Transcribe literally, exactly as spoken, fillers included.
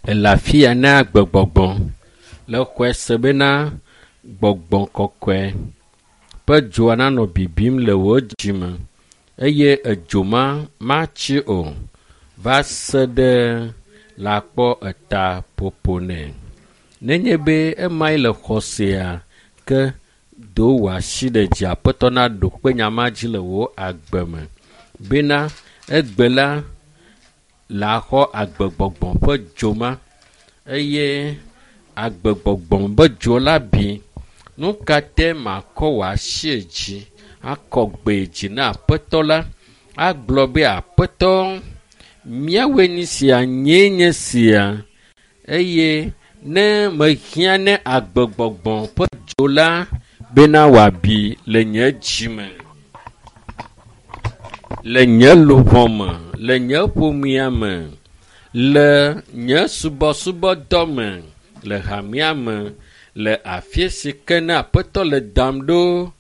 Ele afi ya na agbegbɔgbɔ le xɔe se bena gbɔgbɔ kɔkɔe ƒe dzoa nanɔ bibim le wò dzime eye edzo ma matsi o va se ɖe le akpɔ eta ƒoƒo nɛ. Nenye be emae le xɔsea ke do wò asi ɖe dzi aƒetɔ naɖo kpe nya ma dzi le wò agbe me bena egbe la le axɔ agbegbɔgbɔ ƒe dzo ma eye agbegbɔgbɔ be dzo la bi. Nu ka te makɔ wò asi dzi akɔ gbe dzi na aƒetɔ la agblɔ be aƒetɔ míawoe nye sia nyee nye sia eye ne mehiã ne agbegbɔgbɔ ƒe dzo la bena wòabi le nye dzi me le nye luʋɔ me le nye ƒomea me le nye subɔsubɔdɔ me le hamea me le afi si ke ne aƒetɔ le dam ɖo